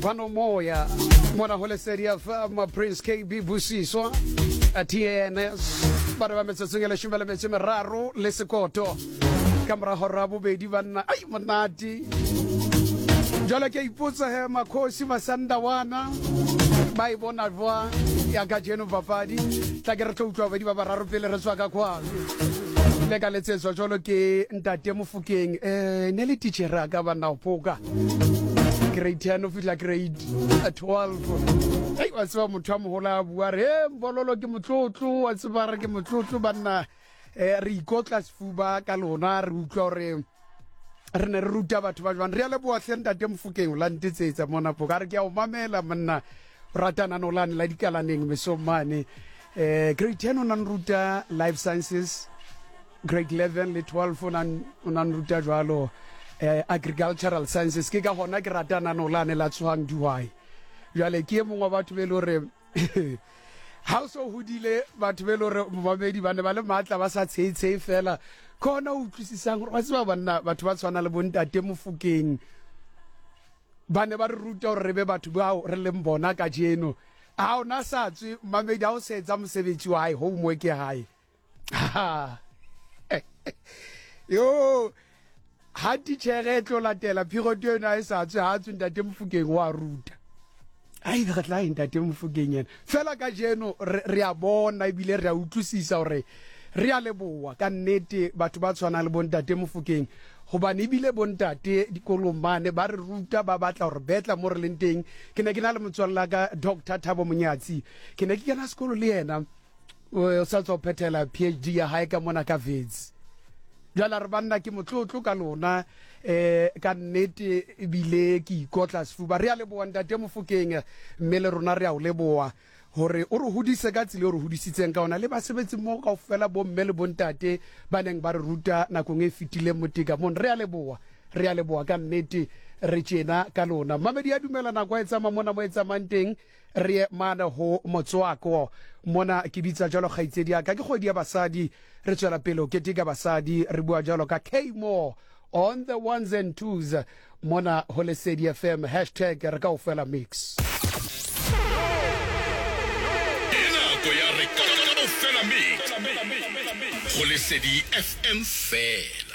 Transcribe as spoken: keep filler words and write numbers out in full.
Bano moya mona ho Lesedi F M, Prince K B Busiswa T A N S ba re ba metsotsong e leshome le metso e meraro le sekoto ka mora hora ya bobedi banna. Ai monate jwale ke ipotsa he makhosi Masandawana ba e bona jwang ya kajeno papadi. Tla ke re tlo utlwa babedi ba bararo pele re tswa ka kwano. Le ka letsetswa jwalo ke ntate Mofokeng, eh ne le teacher ka banna ho phoka grade ten ho fihla grade twelve. Ei wa tseba motho a moholo a bua re e mbololo ke motlotlo, wa tseba re ke motlotlo banna. Eh re ikotla sefuba ka lona, re utlwa hore re ne re ruta batho ba jwang. Re a leboha hle ntate Mofokeng, o la ntetsetsa mona phoka. A re ke a o mamela monna, o ratana nolane la dikalaneng mesong mane. Eh grade ten o na nruta life sciences, grade eleven le twelve o na o na nruta jwalo eh agricultural sciences. Ke ka hona ke ratana nolane la tsohang dihwai. Jwale ke e mongwe wa batho be le hore ha o so hodile, batho be le hore momamedi ba ne ba le matla ba sa tsheitshe fela. Ke hona o utlwisisang hore wa tseba banna batho ba tshwana le bontate Mofokeng ba ne ba re ruta hore re be batho bao re leng bona kajeno. Ha ona sa tswe mamedi, ha o se etsa mosebetsi wa hae, homework ya hae. Yo ha titjhere e tlo latela period ena e sa tswe, ha tswe ntate Mofokeng wa ruta. Ai re tla ntate Mofokeng yena fela kajeno re a bona ebile re a utlwisisa hore re a leboha ka nnete batho ba tshwanang le bontate Mofokeng, hobane ebile bontate dikolong mane ba re ruta, ba batla hore betla mo re leng teng. Ke ne ke na le motswalle ka Doctor Thabo Monyatsi, ke ne ke kena sekolo le yena, o sa tswa ho phethela P H D ya hae ka mona ka Wits. Jwale re banna ke motlotlo ka lona, eh ka nnete ebile ke ikotla sefuba. Re a leboha ntate Mofokeng, mme le rona re a o leboha hore o re hodise ka tsela e o re hodisitseng ka ona, le basebetsi mmoho kaofela bomme le bontate ba neng ba re ruta nakong e fetileng moteka mona. Re a leboha, re a leboha ka nnete, re tjena ka lona. Mamedi ya dumela nako e tsamaya mona mo e tsamayang teng, re ye mane ho motswako mona. Ke bitsa jwalo kgaitsedi ya ka, ke kgwedi ya basadi, re tswela pele ho keteka basadi, re bua jwalo ka K-More on the ones and twos mona ho Lesedi F M, hashtag re kaofela mix. Nako ya re kaofela mix ho Lesedi F M fela.